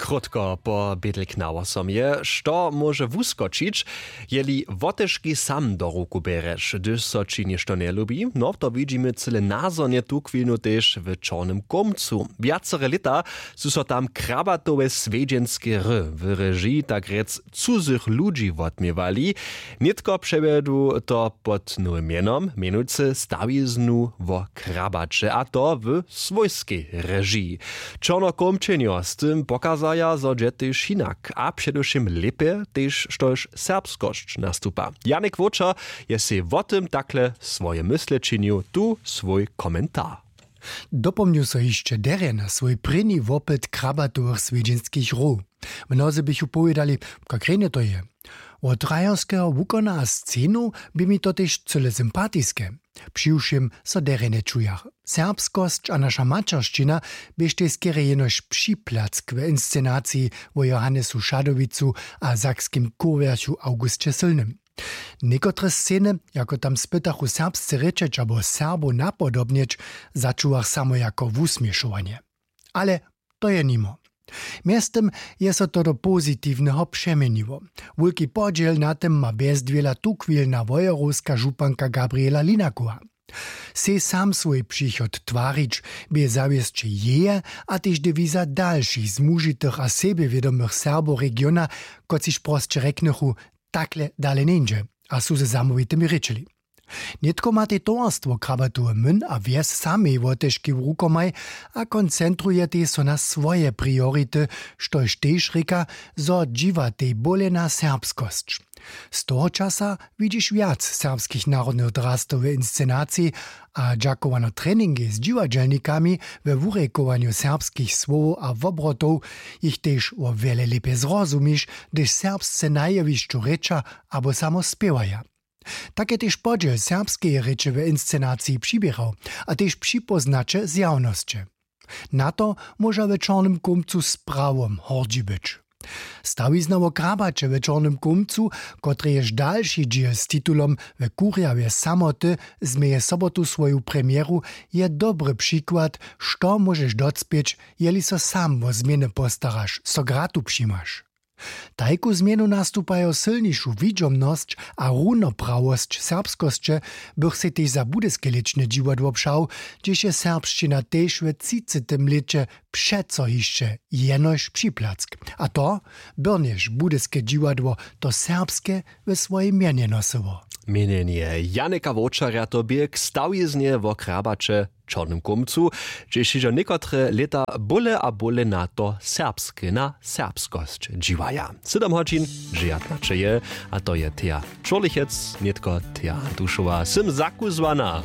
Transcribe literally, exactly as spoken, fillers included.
Krótko po bědlk na wosom je, što móže wuskočić, jeli wotežki sam do ruku bjerješ, hdyž so ći něšto njelubi? No, to widźimy cyle nazhonje tuchwilnu tež w čornym kómcu. Wjacere lěta su so tam krabatowe swjedźenske hry w režiji tak rjec cuzych ludźi wotměwali. Nětko přewjedu to pod nowym mjenom, mjenujcy stawiznu wo krabaće, a to w swójskej režiji. Čornokómčenjo z tym pokazaja, zo dźe tež hinak a předewšěm lěpje, tež štož serbskosć nastupa. Janik Wóčer je sej wo tym takle swoje mysle činił, tu swój komentar. Dopomnju so hišće derje na swój prěni wopyt krabatowych swjedźenskich hrow. Mnozy běchu powědali, kak rjenje to je. Wot rajerskeho wukona a scenow bě mi to tež cyle sympatiske. Přiwšěm so derje nječujach. Serbskosć a naša maćeršćina běštej skerje jenož připlack w inscenaciji wo johannesu šadowicu a sakskim kurwjerchu augusće sylnym. Někotre sceny, jako tam spytachu serbsce rěčeć abo serbow napodobnjeć, začuwach samo jako wusměšowanje. Ale to je nimo. Mjeztym je so to do pozitiwneho přeměniło. Wulki podźěl na tym ma bjezdwěla tuchwilna wojerowska županka gabriela linakowa. Sej sam swój přichod twarić bě zawěsće jeje a tež dewiza dalšich zmužitych a sebjewědomych serbow regiona, kotřiž prosće rjeknychu, takle dale njeńdźe, a su ze zamołwitymi rěčeli. Nětko matej towarstwo krabatowy myn a wjes samej wotežki w rukomaj a koncentrujetej so na swoje priority, štož tež rěka, zo dźiwatej bóle na serbskosć. Z toho časa widźiš wjac serbskich narodnych drastow w inscenaciji, a dźakowano treningej z dźiwadźelnikami we wurejkowanju serbskich słowow a wobrotow jich tež wo wjele lěpje zrozumiš, hdyž serbsce na jewišću rěča abo samo spěwaja. Tak je tež podźěl serbskeje rěče w inscenaciji přiběrał a tež připóznaće zjawnosće. Na to móža w čornym kómcu z prawom hordźi być. Stawizna wo krabaće w čornym kómcu, kotrejež dalši dźěl z titulom w kurjawje samoty změje sobotu swoju premjeru, je dobry přikład, što móžeš docpěć, jeli so sam wo změny postaraš, so gratu přimaš. Tajku změnu nastupajo sylnišu widźomnosć a runoprawosć serbskosće, bych sej tež za budyske lěčne dźiwadło přał, hdźež je serbšćina tež w třicetym lěće přeco hišće jenož připlack. A to byrnjež budyske dźiwadło to serbske we swojej mjenje nosyło. Měnjenje janika wowčarja to bě k stawiznje wo krabaće w čornym kómcu, hdźež hižo někotre lěta bóle a bóle na to serbske na serbskosć dźiwaja. Sydom hodźin dźewjatnaće je, a to je teja čurlichec nětko teja dušowa sym zakuzłana.